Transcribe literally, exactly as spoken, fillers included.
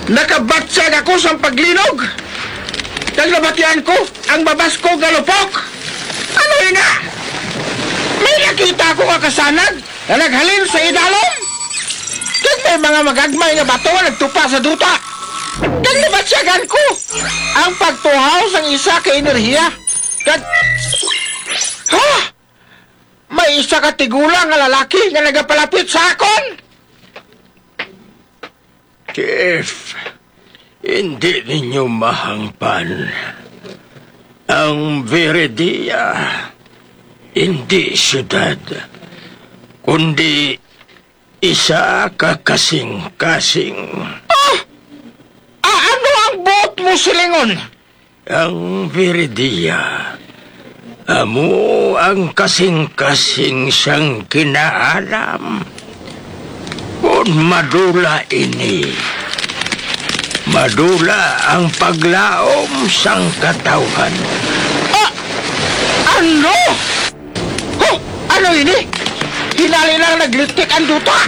Nakabatyag ako sang paglinog, kag nabatian ko ang babas ko nga lupok. Ano ina? May nakita ko nga kasanag nga naghalin sa idalom, kag may mga magagmay nga bato nga nagtupa sa duta. Kag nabatyagan ko ang pagtuhaw sang isa ka enerhiya, kag, ha! May isa ka tigulang nga lalaki nga nagapalapit sa akon. Chief, hindi ninyo mahangpan. Ang Viridia, hindi siyudad, kundi isa ka kasing-kasing. Ah! Ah, ano ang buot mo silingon? Ang Viridia, amo ang kasing-kasing sang kinaalam. Kon madula ini, madula ang paglaom sang katawhan. Ah! Ano? Oh, ano ini? Hinali lang naglitik ang duta.